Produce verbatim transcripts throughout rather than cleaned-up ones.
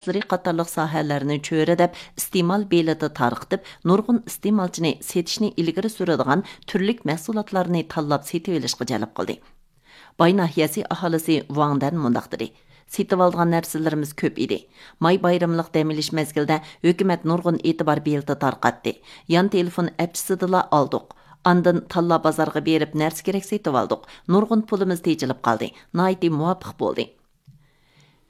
قاتارلىق ساھەلەرنى چۆرىدەپ، ئىستېمال بېلىتى تارقىتىپ، نۇرغۇن ئىستېمالچىنى سېتىشنى ئىلگىرى سۈرىدىغان تۈرلۈك مەھسۇلاتلارنى تاللاپ سېتىۋېلىشقا جەلپ قىلدى. باي ناھىيەسى ئاھالىسى ۋاڭ دەن مۇنداق دېدى: سېتىۋالىدىغان نەرسىلىرىمىز كۆپ ئىدى. ماي بايرىملىق دەم ئېلىش مەزگىلىدە ھۆكۈمەت نۇرغۇن ئېتىبار بېلىتى تارقاتتى. يان تېلېفون ئەپچىسىدىلا ئالدۇق. ئاندىن تاللا بازارغا بېرىپ نەرسە كېرەك سېتىۋالدۇق. نۇرغۇن پۇلىمىز تېجىلىپ قالدى. ناھايىتى مۇۋاپىق بولدى.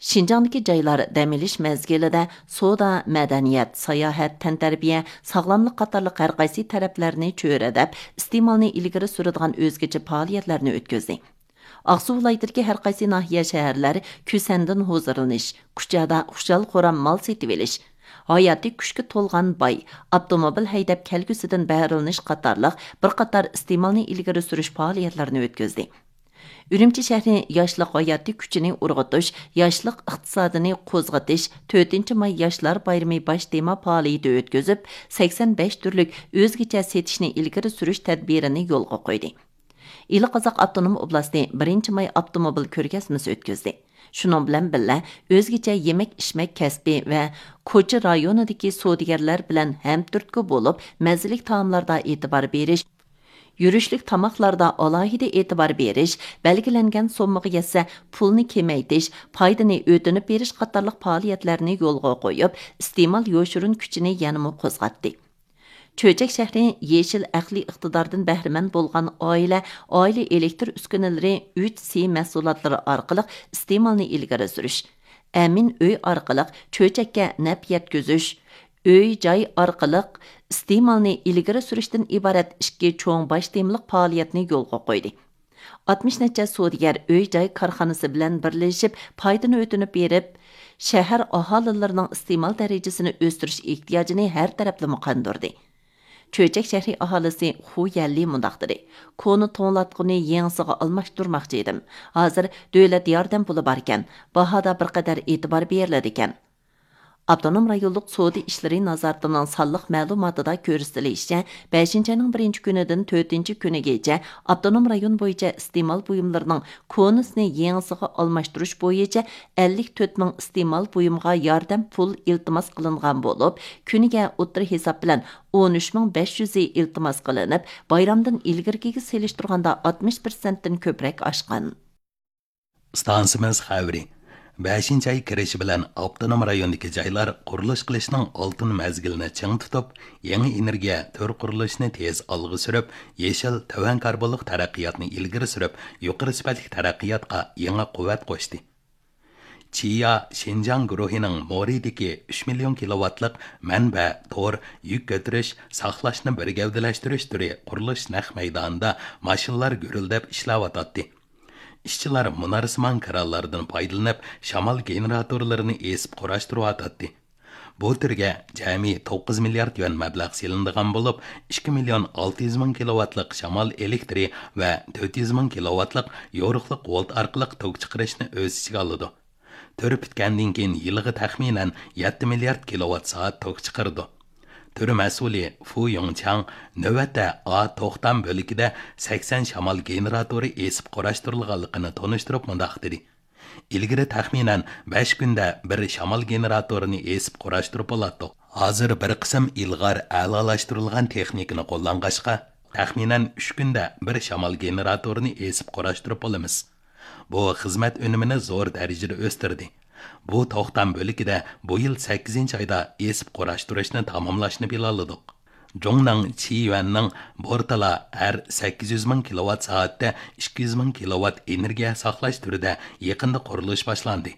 شىنجاڭدىكى جايلار دەم ئېلىش مەزگىلىدە سودا، مەدەنىيەت، ساياھەت، تەنتەربىيە، ساغلاملىق قاتارلىق ھەرقايسى تەرەپلەرنى چۆرىدەپ، ئىستېمالنى ئىلگىرى سۈرىدىغان ئۆزگىچە پائالىيەتلەرنى ئۆتكۈزدى. ئاقسۇ ۋىلايىتىدىكى ھەرقايسى ناھىيە، شەھەرلەر كۈسەندىن ھۇزۇرلىنىش، كۇچادا خۇشال-خۇرام مال سېتىۋېلىش، ھاياتىي كۈچكە تولغان باي، ئاپتوموبىل ھەيدەپ كەلگۈسىدىن بەھرىلىنىش قاتارلىق بىر قاتار ئىستېمالنى ئىلگىرى سۈرۈش پائالىيەتلىرىنى ئۆتكۈزدى. ئۈرۈمچى شەھىرى ياشلىق ھاياتىي كۈچىنى ئۇرغۇتۇش، ياشلىق ئىقتىسادىنى قوزغىتىش تۆتىنچى ماي ياشلار بايرىمى باش تېما پائالىيىتى ئۆتكۈزۈپ، سەكسەن بەش تۈرلۈك ئۆزگىچە سېتىشنى ئىلگىرى سۈرۈش تەدبىرىنى يولغا قويدى. ئىلى قازاق ئاپتونوم ئوبلاستى بىرىنچى ماي ئاپتوموبىل كۆرگەزمىسى ئۆتكۈزدى. شۇنىڭ بىلەن بىللە، ئۆزگىچە يېمەك-ئىچمەك كەسپى ۋە كوچا رايونىدىكى سودىگەرلەر بىلەن ھەمتۈرتكە بولۇپ، مەززىلىك تائاملاردا ئېتىبار بېرىش، يۈرۈشلۈك تاماقلاردا ئالاھىدە ئېتىبار بېرىش، بەلگىلەنگەن سوممىغا يەتسە، پۇلنى كېمەيتىش، پايدىنى ئۆتۈنۈپ بېرىش قاتارلىق پائالىيەتلەرنى يولغا قويۇپ، ئىستېمال يوشۇرۇن كۈچىنى يەنىمۇ قوزغاتتى. چۆچەك شەھىرى يېشىل ئەقلىي ئىقتىداردىن بەھرىمەن بولغان ئائىلە، ئائىلە ئېلېكتر ئۈسكۈنىلىرى ئۈچ سى مەھسۇلاتلىرى ئارقىلىق ئىستېمالنى ئىلگىرى سۈرۈش، ئەمىن ئۆي ئارقىلىق چۆچەككە نەپ يەتكۈزۈش، ئۆي جاي ئارقىلىق ئىستېمالنى ئىلگىرى سۈرۈشتىن ئىبارەت ئىككى چوڭ باش تېمىلىق پائالىيەتنى يولغا قويدى. ئاتمىش نەچچە سودىگەر ئۆي جاي كارخانىسى بىلەن بىرلىشىپ پايدىنى ئۆتۈنۈپ بېرىپ، شەھەر ئاھالىلىرىنىڭ ئىستېمال دەرىجىسىنى ئۆستۈرۈش ئېھتىياجىنى ھەر تەرەپلىمە قاندۇردى. چۆچەك شەھىرى ئاھالىسى خۇ يەنلى مۇنداق دېدى: كونا توڭلاتقۇنى يېڭىسىغا ئالماشتۇرماقچى ئىدىم. ھازىر دۆلەت ياردەم پۇلى باركەن، باھادا بىر قەدەر ئېتىبار بېرىلىدىكەن. ئاپتونوم رايونلۇق سودا ئىشلىرى نازارىتىنىڭ سانلىق مەلۇماتىدا كۆرسىتىلىشىچە، بەشىنچى ئاينىڭ بىرىنچى كۈنىدىن تۆتىنچى كۈنىگىچە ئاپتونوم رايون بويىچە ئىستېمال بۇيۇملىرىنىڭ كونىسىنى يېڭىسىغا ئالماشتۇرۇش بويىچە ئەللىك تۆت مىڭ ئىستېمال بۇيۇمغا ياردەم پۇل ئىلتىماس قىلىنغان بولۇپ، كۈنىگە ئوتتۇرا ھېساب بىلەن ئون ئۈچ مىڭ بەش يۈزى ئىلتىماس قىلىنىپ، بايرامدىن ئىلگىرىكىگە سېلىشتۇرغاندا ئاتمىش پىرسەنتتىن كۆپرەك ئاشقان. ئىستانسىمىز خەۋىرى. بەشىنچى ئاي كىرىشى بىلەن ئاپتونوم رايوندىكى جايلار قۇرۇلۇش قىلىشنىڭ ئالتۇن مەزگىلىنى چىڭ تۇتۇپ، يېڭى ئېنېرگىيە تۈر قۇرۇلۇشىنى تېز ئالغا سۈرۈپ، يېشىل، تۆۋەن كاربونلۇق تەرەققىياتنى ئىلگىرى سۈرۈپ، يۇقىرى سۈپەتلىك تەرەققىياتقا يېڭى قۇۋۋەت قوشتى. چىيا شىنجاڭ گۇرۇھىنىڭ مورىدىكى ئۈچ مىليون كىلوۋاتلىق مەنبە، تور، يۈك كۆتۈرۈش، ساقلاشنى بىر گەۋدىلەشتۈرۈش تۈرى قۇرۇلۇش نەق مەيدانىدا ماشىنىلار گۈرۈلدەپ ئىشلەۋاتاتتى. ئىشچىلار مۇنارسىمان كرانلاردىن پايدىلىنىپ، شامال گېنېراتورلىرىنى ئېسىپ قۇراشتۇرۇۋاتاتتى. بۇ تۈرگە جەمئىي توققۇز مىليارد يۈەن مەبلەغ سېلىنىدىغان بولۇپ، ئىككى مىليون ئالتە يۈز مىڭ كىلوۋاتلىق شامال ئېلېكتىرى ۋە تۆت يۈز مىڭ كىلوۋاتلىق يورۇقلۇق ۋولت ئارقىلىق توك چىقىرىشنى ئۆز ئىچىگە ئالىدۇ. تۈر پۈتكەندىن كېيىن يىلىغا تەخمىنەن يەتتە مىليارد كىلوۋات سائەت توك چىقىرىدۇ. تۈر مەسئۇلى فۇ يۇڭچاڭ نۆۋەتتە ئا توختام بۆلىكىدە سەكسەن شامال گېنېراتورى ئېسىپ قۇراشتۇرۇلغانلىقىنى تونۇشتۇرۇپ مۇنداق دېدى: ئىلگىرى تەخمىنەن بەش كۈندە بىر شامال گېنېراتورىنى ئېسىپ قۇراشتۇرۇپ بولاتتۇق. ھازىر بىر قىسىم ئىلغار ئەلالاشتۇرۇلغان تېخنىكىنى قوللانغاچقا، تەخمىنەن ئۈچ كۈندە بىر شامال گېنېراتورىنى ئېسىپ قۇراشتۇرۇپ بولىمىز. بۇ خىزمەت ئۈنۈمىنى زور دەرىجىدە ئۆستۈردى. بۇ توختام بۆلىكىدە بۇ يىل سەككىزىنچى ئايدا ئېسىپ قۇراشتۇرۇشنى تاماملاشنى پىلانلىدۇق. جۇڭنىڭ چىيۈەننىڭ بورتالا ھەر سەككىز يۈز مىڭ كىلوۋات سائەتتە ئىككى يۈز مىڭ كىلوۋات ئېنېرگىيە ساقلاش تۈرىدە يېقىندا قۇرۇلۇش باشلاندى.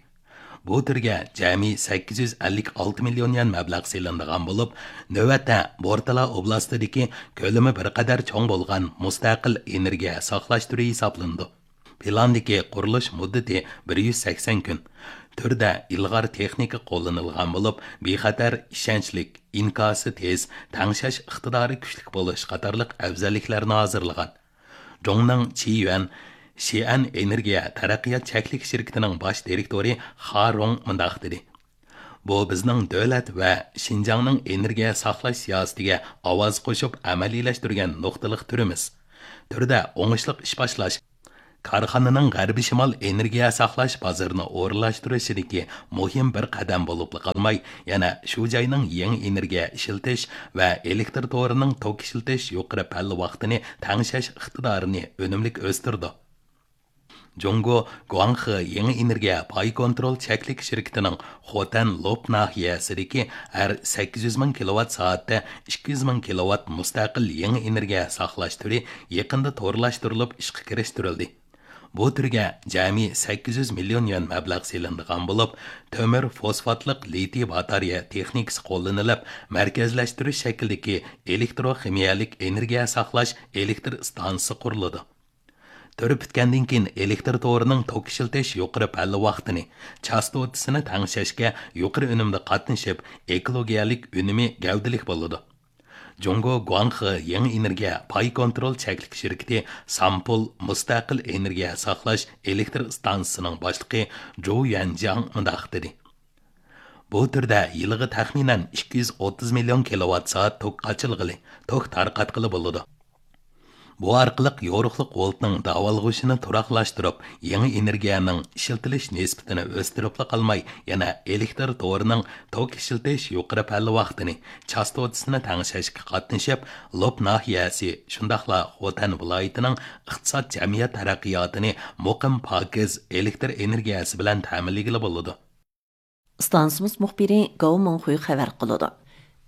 بۇ تۈرگە جەمئىي سەككىز يۈز ئەللىك ئالتە مىليون يۈەن مەبلەغ سېلىنىدىغان بولۇپ، نۆۋەتتە بورتالا ئوبلاستىدىكى كۆلىمى بىر قەدەر چوڭ بولغان مۇستەقىل ئېنېرگىيە ساقلاش تۈرى ھېسابلىنىدۇ. پىلاندىكى قۇرۇلۇش مۇددىتى بىر يۈز سەكسەن كۈن. تۈردە ئىلغار تېخنىكا قوللىنىلغان بولۇپ، بىخەتەر، ئىشەنچلىك، ئىنكاسى تېز، تەڭشەش ئىقتىدارى كۈچلۈك بولۇش قاتارلىق ئەۋزەللىكلەرنى ھازىرلىغان. جۇڭنىڭ چىيۈەن شىئەن ئېنېرگىيە تەرەققىيات چەكلىك شىركىتىنىڭ باش دىرېكتورى خا رۇڭ مۇنداق دېدى: بۇ بىزنىڭ دۆلەت ۋە شىنجاڭنىڭ ئېنېرگىيە ساقلاش سىياسىتىگە ئاۋاز قوشۇپ ئەمەلىيلەشتۈرگەن نۇقتىلىق تۈرىمىز. تۈردە ئوڭۇشلۇق ئىش باشلاش، كارخانىنىڭ غەربىي شىمال ئېنېرگىيە ساقلاش بازىرىنى ئورۇنلاشتۇرۇشىدىكى مۇھىم بىر قەدەم بولۇپلا قالماي، يەنە شۇ جاينىڭ يېڭى ئېنېرگىيە ئىشلىتىش ۋە ئېلېكتر تورىنىڭ توك ئىشلىتىش يۇقىرى پەللى ۋاقتىنى تەڭشەش ئىقتىدارىنى ئۈنۈملۈك ئۆستۈرىدۇ. جۇڭگو گۇاڭخې يېڭى ئېنېرگىيە پاي كونترول چەكلىك شىركىتىنىڭ خوتەن لوپ ناھىيەسىدىكى ھەر سەككىز يۈز مىڭ كىلوۋات سائەتتە ئىككى يۈز مىڭ كىلوۋات مۇستەقىل يېڭى ئېنېرگىيە ساقلاش تۈرى يېقىندا تورلاشتۇرۇلۇپ ئىشقا كىرىشتۈرۈلدى. بۇ تۈرگە جەمئىي سەككىز يۈز مىليون يۈەن مەبلەغ سېلىنىدىغان بولۇپ، تۆمۈر فوسفاتلىق لىتىي باتارېيە تېخنىكىسى قوللىنىلىپ، مەركەزلەشتۈرۈش شەكلىدىكى ئېلېكتروخىمىيەلىك ئېنېرگىيە ساقلاش ئېلېكتر ئىستانسىسى قۇرۇلىدۇ. تۈر پۈتكەندىن كېيىن ئېلېكتر تورىنىڭ توك ئىشلىتىش يۇقىرى پەللى ۋاقتىنى، چاستوتىسىنى تەڭشەشكە يۇقىرى ئۈنۈمدە قاتنىشىپ، ئېكولوگىيەلىك ئۈنۈمى گەۋدىلىك بولىدۇ. جۇڭگو گۇاڭخې يېڭى ئېنېرگىيە پاي كونترول چەكلىك شىركىتى سامپۇل مۇستەقىل ئېنېرگىيە ساقلاش ئېلېكتر ئىستانسىسىنىڭ باشلىقى جۇ يۈەنجياڭ مۇنداق دېدى: بۇ تۈردە يىلىغا تەخمىنەن ئىككى يۈز ئوتتۇز مىليون كىلوۋات سائەت توك قاچىلىغىلى، توك تارقاتقىلى بولىدۇ. بۇ ئارقىلىق يورۇقلۇق ۋولتنىڭ داۋالغۇشىنى تۇراقلاشتۇرۇپ، يېڭى ئېنېرگىيەنىڭ ئىشلىتىلىش نىسبىتىنى ئۆستۈرۈپلا قالماي، يەنە ئېلېكتر تورىنىڭ توك ئىشلىتىش يۇقىرى پەللى ۋاقتىنى، چاستوتىسىنى تەڭشەشكە قاتنىشىپ، لوپ ناھىيەسى، شۇنداقلا خوتەن ۋىلايىتىنىڭ ئىقتىساد، جەمئىيەت تەرەققىياتىنى مۇقىم، پاكىز ئېلېكتر ئېنېرگىيەسى بىلەن تەمىنلىگىلى بولىدۇ. ئىستانسىمىز مۇخبىرى گاۋ مىڭخۇي خەۋەر قىلىدۇ.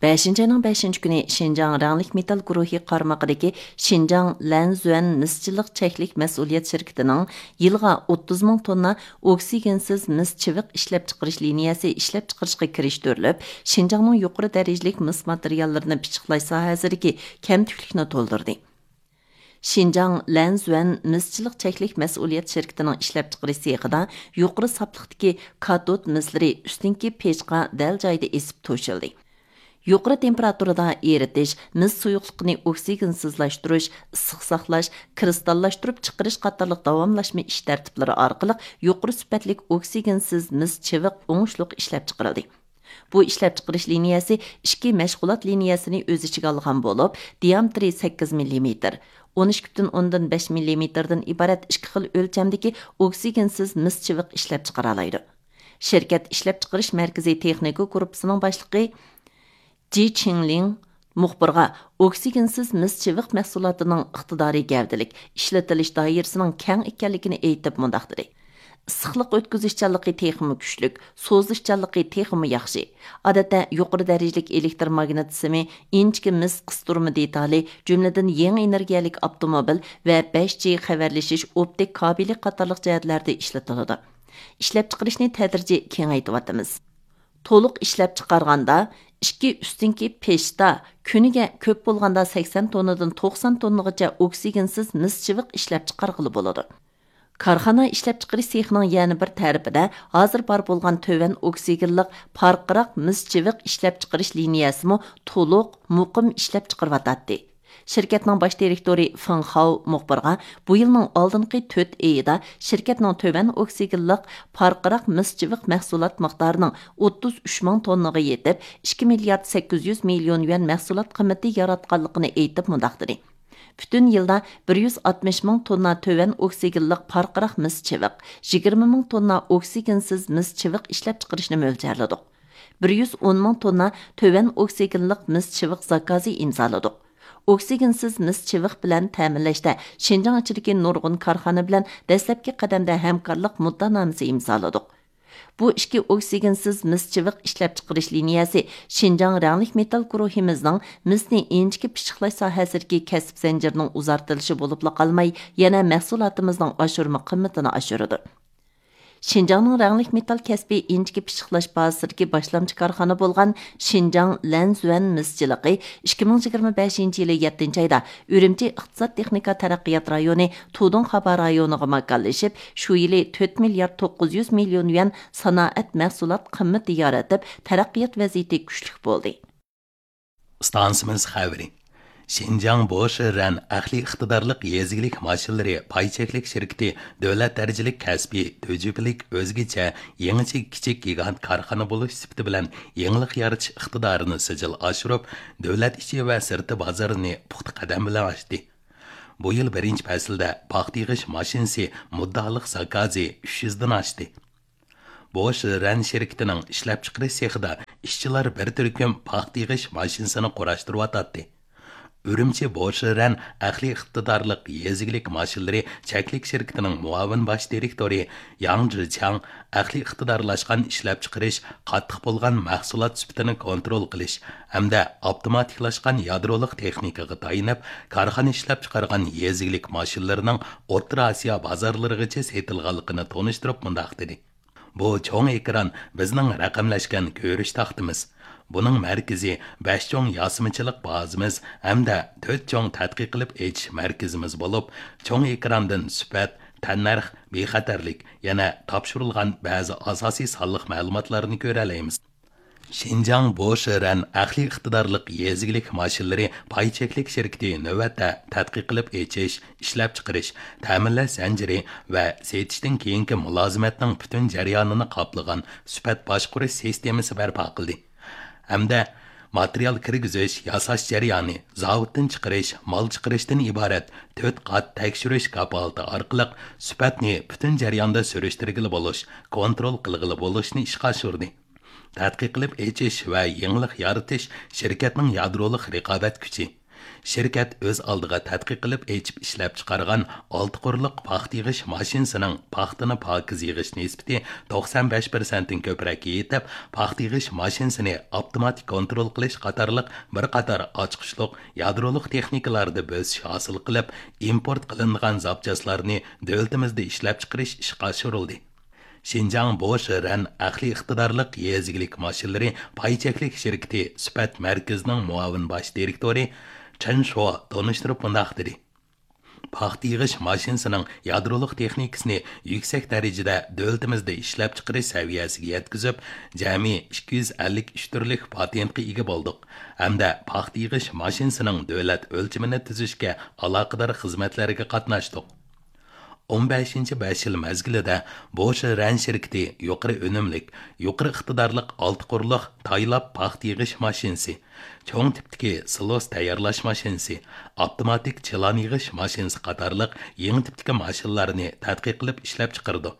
بەشىنچى ئاينىڭ بەشىنچى كۈنى شىنجاڭ رەڭلىك مېتال گۇرۇھى قارمىقىدىكى شىنجاڭ لەنزۈەن مىسچىلىق چەكلىك مەسئۇلىيەت شىركىتىنىڭ يىلىغا ئوتتۇز مىڭ توننا ئوكسىگېنسىز مىس چىۋىق ئىشلەپچىقىرىش لىنىيەسى ئىشلەپچىقىرىشقا كىرىشتۈرۈلۈپ، شىنجاڭنىڭ يۇقىرى دەرىجىلىك مىس ماتېرىياللىرىنى پىششىقلاش ساھەسىدىكى كەمتۈكلۈكنى تولدۇردى. شىنجاڭ لەنزۈەن مىسچىلىق چەكلىك مەسئۇلىيەت شىركىتىنىڭ ئىشلەپچىقىرىش سېخىدا يۇقىرى ساپلىقتىكى كاتود مىسلىرى ئۈستۈنكى پېچقا دەل جايىدا ئېسىپ توشۇلدى. يۇقىرى تېمپېراتۇرىدا ئېرىتىش، مىس سۇيۇقلۇقىنى ئوكسىگېنسىزلاشتۇرۇش، ئىسسىق ساقلاش، كىرىستاللاشتۇرۇپ چىقىرىش قاتارلىق داۋاملاشما ئىش تەرتىپلىرى ئارقىلىق يۇقىرى سۈپەتلىك ئوكسىگېنسىز مىس چىۋىق ئوڭۇشلۇق ئىشلەپچىقىرىلدى. بۇ ئىشلەپچىقىرىش لىنىيەسى ئىككى مەشغۇلات لىنىيەسىنى ئۆز ئىچىگە ئالغان بولۇپ، دىئامېتىرى سەككىز مىللىمېتىر، ئون ئىككى پۈتۈن ئوندىن بەش مىللىمېتىردىن ئىبارەت ئىككى خىل ئۆلچەمدىكى ئوكسىگېنسىز مىس چىۋىق ئىشلەپچىقىرالايدۇ. شىركەت ئىشلەپچىقىرىش مەركىزى تېخنىكا گۇرۇپپىسىنىڭ باشلىقى جى چىڭلىڭ مۇخبىرغا ئوكسىگېنسىز مىس چىۋىق مەھسۇلاتىنىڭ ئىقتىدارى گەۋدىلىك، ئىشلىتىلىش دائىرىسىنىڭ كەڭ ئىكەنلىكىنى ئېيتىپ مۇنداق دېدى: ئىسسىقلىق ئۆتكۈزۈشچانلىقى تېخىمۇ كۈچلۈك، سوزۇشچانلىقى تېخىمۇ ياخشى. ئادەتتە يۇقىرى دەرىجىلىك ئېلېكتر ماگنىت سىمى، ئىنچىكە مىس قىستۇرما دېتالى، جۈملىدىن يېڭى ئېنېرگىيەلىك ئاپتوموبىل ۋە بەش جى خەۋەرلىشىش ئوپتىك كابېلى قاتارلىق جەھەتلەردە ئىشلىتىلىدۇ. ئىشلەپچىقىرىشنى تەدرىجىي كېڭەيتىۋاتىمىز. تولۇق ئىشلەپچىقارغاندا، ئىككى ئۈستۈنكى پېچتا كۈنىگە كۆپ بولغاندا سەكسەن توننىدىن توقسان توننىغىچە ئوكسىگېنسىز مىس چىۋىق ئىشلەپچىقارغىلى بولىدۇ. كارخانا ئىشلەپچىقىرىش سېخىنىڭ يەنە بىر تەرىپىدە ھازىر بار بولغان تۆۋەن ئوكسىگېنلىق پارقىراق مىس چىۋىق ئىشلەپچىقىرىش لىنىيەسىمۇ تولۇق، مۇقىم ئىشلەپچىقىرىۋاتاتتى. شىركەتنىڭ باش دىرېكتورى فېڭ خاۋ مۇخبىرغا بۇ يىلنىڭ ئالدىنقى تۆت ئېيىدا شىركەتنىڭ تۆۋەن ئوكسىگېنلىق پارقىراق مىس چىۋىق مەھسۇلات مىقدارىنىڭ ئوتتۇز ئۈچ مىڭ توننىغا يېتىپ، ئىككى مىليارد سەككىز يۈز مىليون يۈەن مەھسۇلات قىممىتى ياراتقانلىقىنى ئېيتىپ مۇنداق دېدى: پۈتۈن يىلدا بىر يۈز ئاتمىش مىڭ توننا تۆۋەن ئوكسىگېنلىق پارقىراق مىس چىۋىق، يىگىرمە مىڭ توننا ئوكسىگېنسىز مىس چىۋىق ئىشلەپچىقىرىشنى مۆلچەرلىدۇق. بىر يۈز ئون مىڭ توننا تۆۋەن ئوكسىگېنلىق مىس چىۋىق زاكازى ئىمزالىدۇق. ئوكسىگېنسىز مىس چىۋىق بىلەن تەمىنلەشتە شىنجاڭ ئىچىدىكى نۇرغۇن كارخانا بىلەن دەسلەپكى قەدەمدە ھەمكارلىق مۇددىئانامىسى ئىمزالىدۇق. بۇ ئىككى ئوكسىگېنسىز مىس چىۋىق ئىشلەپچىقىرىش لىنىيەسى شىنجاڭ رەڭلىك مېتال گۇرۇھىمىزنىڭ مىسنى ئىنچىكە پىششىقلاش ساھەسىدىكى كەسىپ زەنجىرىنىڭ ئۇزارتىلىشى بولۇپلا قالماي، يەنە مەھسۇلاتىمىزنىڭ ئاشۇرما قىممىتىنى ئاشۇرىدۇ. شىنجاڭنىڭ رەڭلىك مېتال كەسپى ئىنچىكە پىششىقلاش بازىسىدىكى باشلامچى كارخانا بولغان شىنجاڭ لەنزۈەن مىسچىلىقى ئىككى مىڭ يىگىرمە بەشىنچى يىلى يەتتىنچى ئايدا ئۈرۈمچى ئىقتىساد تېخنىكا تەرەققىيات رايونى تۇدۇڭخابا رايونىغا ماكانلىشىپ، شۇ يىلى تۆت مىليارد توققۇز يۈز مىليون يۈەن سانائەت مەھسۇلات قىممىتى يارىتىپ، تەرەققىيات ۋەزىيىتى كۈچلۈك بولدى. ئىستانسىمىز خەۋىرى. شىنجاڭ بوشىرەن ئەقلىي ئىقتىدارلىق يېزا ئىگىلىك ماشىنىلىرى پاي چەكلىك شىركىتى دۆلەت دەرىجىلىك كەسپىي، تۈجۈپىلىك، ئۆزگىچە، يېڭىچە كىچىك گىگانت كارخانا بولۇش سۈپىتى بىلەن يېڭىلىق يارىتىش ئىقتىدارىنى سىجىل ئاشۇرۇپ، دۆلەت ئىچى ۋە سىرتى بازىرىنى پۇختا قەدەم بىلەن ئاچتى. بۇ يىل بىرىنچى پەسىلدە پاختا يىغىش ماشىنىسى مۇددىئالىق زاكازى ئۈچ يۈزدىن ئاشتى. بوش رەن شىركىتىنىڭ ئىشلەپچىقىرىش سېخىدا ئىشچىلار بىر تۈركۈم پاختا يىغىش ماشىنىسىنى قۇراشتۇرۇۋاتاتتى. ئۈرۈمچى بوش رەن ئەقلىي ئىقتىدارلىق يېزا ئىگىلىك ماشىنىلىرى چەكلىك شىركىتىنىڭ مۇئاۋىن باش دىرېكتورى ياڭ جىچياڭ ئەقلىي ئىقتىدارلاشقان ئىشلەپچىقىرىش، قاتتىق بولغان مەھسۇلات سۈپىتىنى كونترول قىلىش ھەمدە ئاپتوماتىكلاشقان يادرولۇق تېخنىكىغا تايىنىپ، كارخانا ئىشلەپچىقارغان يېزا ئىگىلىك ماشىنىلىرىنىڭ ئوتتۇرا ئاسىيا بازارلىرىغىچە سېتىلغانلىقىنى تونۇشتۇرۇپ مۇنداق دېدى: بۇ چوڭ ئېكران بىزنىڭ رەقەملەشكەن كۆرۈش تاختىمىز. بۇنىڭ مەركىزى بەش چوڭ ياسىمىچىلىق بازىمىز ھەمدە تۆت چوڭ تەتقىق قىلىپ ئېچىش مەركىزىمىز بولۇپ، چوڭ ئېكراندىن سۈپەت، تەننەرخ، بىخەتەرلىك، يەنە تاپشۇرۇلغان بەزى ئاساسىي سانلىق مەلۇماتلارنى كۆرەلەيمىز. شىنجاڭ بوش رەن ئەقلىي ئىقتىدارلىق يېزا ئىگىلىك ماشىنىلىرى پاي چەكلىك شىركىتى نۆۋەتتە تەتقىق قىلىپ ئېچىش، ئىشلەپچىقىرىش، تەمىنلەش زەنجىرى ۋە سېتىشتىن كېيىنكى مۇلازىمەتنىڭ پۈتۈن جەريانىنى قاپلىغان سۈپەت باشقۇرۇش سىستېمىسى بەرپا قىلدى ھەمدە ماتېرىيال كىرگۈزۈش، ياساش جەريانى، زاۋۇتتىن چىقىرىش، مال چىقىرىشتىن ئىبارەت تۆت قات تەكشۈرۈش كاپالىتى ئارقىلىق سۈپەتنى پۈتۈن جەرياندا سۈرۈشتۈرگىلى بولۇش، كونترول قىلغىلى بولۇشنى ئىشقا ئاشۇردى. تەتقىق قىلىپ ئېچىش ۋە يېڭىلىق يارىتىش شىركەتنىڭ يادرولۇق رىقابەت كۈچى. شىركەت ئۆز ئالدىغا تەتقىق قىلىپ ئېچىپ ئىشلەپچىقارغان ئالتە قۇرلۇق پاختا يىغىش ماشىنىسىنىڭ پاختىنى پاكىز يىغىش نىسبىتى توقسان بەش پىرسەنتتىن كۆپرەككە يېتىپ، پاختا يىغىش ماشىنىسىنى ئاپتوماتىك كونترول قىلىش قاتارلىق بىر قاتار ئاچقۇچلۇق يادرولۇق تېخنىكىلاردا بۆسۈش ھاسىل قىلىپ، ئىمپورت قىلىنىدىغان زاپچاسلارنى دۆلىتىمىزدە ئىشلەپچىقىرىش ئىشقا ئاشۇرۇلدى. شىنجاڭ بوش رەن ئەقلىي ئىقتىدارلىق يېزا ئىگىلىك ماشىنىلىرى پاي چەكلىك شىركىتى سۈپەت مەركىزىنىڭ مۇئاۋىن باش دىرېكتورى چېن شۇ تونۇشتۇرۇپ مۇنداق دېدى: پاختا يىغىش ماشىنىسىنىڭ يادرولۇق تېخنىكىسىنى يۈكسەك دەرىجىدە دۆلىتىمىزدە ئىشلەپچىقىرىش سەۋىيەسىگە يەتكۈزۈپ، جەمئىي ئىككى يۈز ئەللىك ئۈچ تۈرلۈك پاتېنتقا ئىگە بولدۇق ھەمدە پاختا يىغىش ماشىنىسىنىڭ دۆلەت ئۆلچىمىنى تۈزۈشكە ئالاقىدار خىزمەتلەرگە قاتناشتۇق. ئون بەشىنچى بەش يىل مەزگىلىدە بوش رەن شىركىتى يۇقىرى ئۈنۈملۈك، يۇقىرى ئىقتىدارلىق ئالتە قۇرلۇق تايلاپ پاختا يىغىش ماشىنىسى، چوڭ تىپتىكى سىلوس تەييارلاش ماشىنىسى، ئاپتوماتىك چىلان يىغىش ماشىنىسى قاتارلىق يېڭى تىپتىكى ماشىنىلارنى تەتقىق قىلىپ ئىشلەپچىقىرىدۇ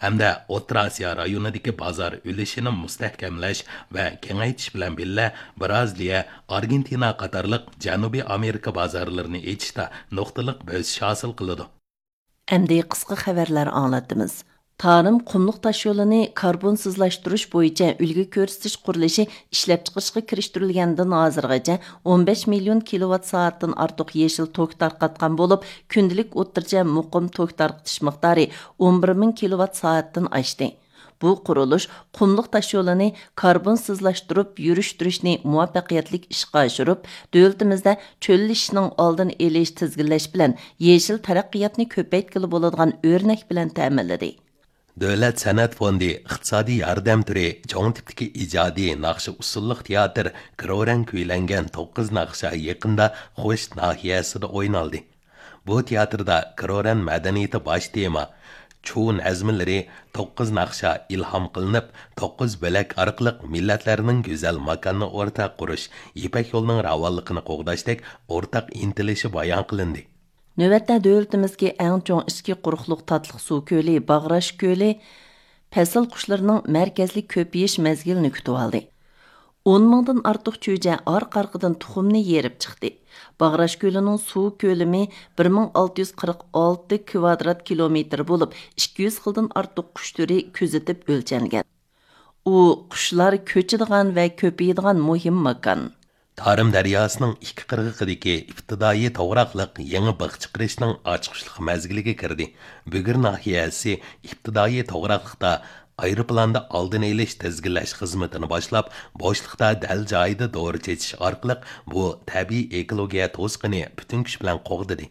ھەمدە ئوتتۇرا ئاسىيا رايونىدىكى بازار ئۈلۈشىنى مۇستەھكەملەش ۋە كېڭەيتىش بىلەن بىللە، بىرازىلىيە، ئارگېنتىنا قاتارلىق جەنۇبىي ئامېرىكا بازارلىرىنى ئېچىشتا نۇقتىلىق بۆسۈش ھاسىل قىلىدۇ. ئەمدى قىسقا خەۋەرلەر ئاڭلاتىمىز. تارىم قۇملۇق تاشيولىنى كاربونسىزلاشتۇرۇش بويىچە ئۈلگە كۆرسىتىش قۇرۇلۇشى ئىشلەپچىقىرىشقا كىرىشتۈرۈلگەندىن ھازىرغىچە ئون بەش مىليون كىلوۋات سائەتتىن ئارتۇق يېشىل توك تارقاتقان بولۇپ، كۈندىلىك ئوتتۇرىچە مۇقىم توك تارقىتىش مىقدارى ئون بىر مىڭ كىلوۋات سائەتتىن ئاشتى. بۇ قۇرۇلۇش قۇملۇق تاشيولىنى كاربونسىزلاشتۇرۇپ يۈرۈشتۈرۈشنى مۇۋەپپەقىيەتلىك ئىشقا ئاشۇرۇپ، دۆلىتىمىزدە چۆللىشىشنىڭ ئالدىنى ئېلىش، تىزگىنلەش بىلەن يېشىل تەرەققىياتنى كۆپەيتكىلى بولىدىغان ئۆرنەك بىلەن تەمىنلىدى. دۆلەت سەنئەت فوندى ئىقتىسادىي ياردەم تۈرى چوڭ تىپتىكى ئىجادىي ناخشا ئۇسسۇللۇق تىياتىر كرورەن كۈيلەنگەن توققۇز ناخشا يېقىندا خوش ناھىيەسىدە ئوينالدى. بۇ تىياتىردا كرورەن مەدەنىيىتى باش تېما، چۇ نەزمىلىرى توققۇز ناخشا ئىلھام قىلىنىپ، توققۇز بۆلەك ئارقىلىق مىللەتلەرنىڭ گۈزەل ماكاننى ئورتاق قۇرۇش، يىپەك يولىنىڭ راۋانلىقىنى قوغداشتەك ئورتاق ئىنتىلىشى بايان قىلىندى. نۆۋەتتە دۆلىتىمىزدىكى ئەڭ چوڭ ئىچكى قۇرۇقلۇق تاتلىق سۇ كۆلى باغراش كۆلى پەسىل قۇشلىرىنىڭ مەركەزلىك كۆپىيىش مەزگىلىنى كۈتۈۋالدى. ئون مىڭدىن ئارتۇق چۈجە ئارقا-ئارقىدىن تۇخۇمنى يېرىپ چىقتى. باغراش كۆلىنىڭ سۇ كۆلىمى بىر مىڭ ئالتە يۈز قىرىق ئالتە كىۋادرات كىلومېتىر بولۇپ، ئىككى يۈز خىلدىن ئارتۇق قۇش تۈرى كۆزىتىپ ئۆلچەنگەن. ئۇ قۇشلار كۆچىدىغان ۋە كۆپىيىدىغان مۇھىم ماكان. تارىم دەرياسىنىڭ ئىككى قىرغىقىدىكى ئىپتىدائىي توغراقلىق يېڭى بىخ چىقىرىشنىڭ ئاچقۇچلۇق مەزگىلىگە كىردى. بۈگۈر ناھىيەسى ئىپتىدائىي توغراقلىقتا ئايروپىلاندا ئالدىنى ئېلىش تىزگىنلەش خىزمىتىنى باشلاپ، بوشلۇقتا دەل جايىدا دورا چېچىش ئارقىلىق بۇ تەبىئىي ئېكولوگىيە توسۇقىنى پۈتۈن كۈچ بىلەن قوغدىدى.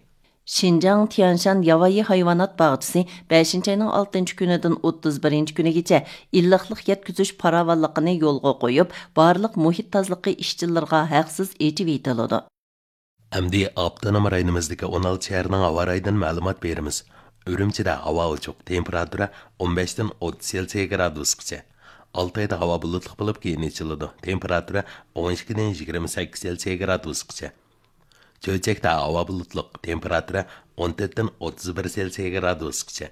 شىنجاڭ تيەنشان ياۋايى ھايۋانات باغچىسى بەشىنچى ئاينىڭ ئالتىنچى كۈنىدىن ئوتتۇز بىرىنچى كۈنىگىچە ئىللىقلىق يەتكۈزۈش پاراۋانلىقىنى يولغا قويۇپ، بارلىق مۇھىت تازىلىقى ئىشچىلىرىغا ھەقسىز ئېچىۋېتىلىدۇ. ئەمدى ئاپتونوم رايونىمىزدىكى ئون ئالتە شەھەرنىڭ ھاۋا رايىدىن مەلۇمات بېرىمىز. ئۈرۈمچىدە ھاۋا ئوچۇق، تېمپېراتۇرا ئون بەشتىن ئوتتۇز سېلسىيە گرادۇسقىچە. ئالتايدا ھاۋا بۇلۇتلۇق بولۇپ، كېيىن ئېچىلىدۇ. تېمپېراتۇرا ئون ئىككىدىن يىگىرمە سەككىز سېلسىيە گرادۇسقىچە. چۆچەكتە ھاۋا بۇلۇتلۇق، تېمپېراتۇرا ئون تۆتتىن ئوتتۇز بىر سېلسىيە گرادۇسقىچە.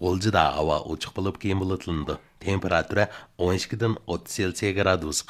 غۇلجىدا ھاۋا ئوچۇق بولۇپ، كېيىن بۇلۇتلىنىدۇ، تېمپېراتۇرا ئون ئىككىدىن ئوتتۇز سېلسىيە گرادۇسقا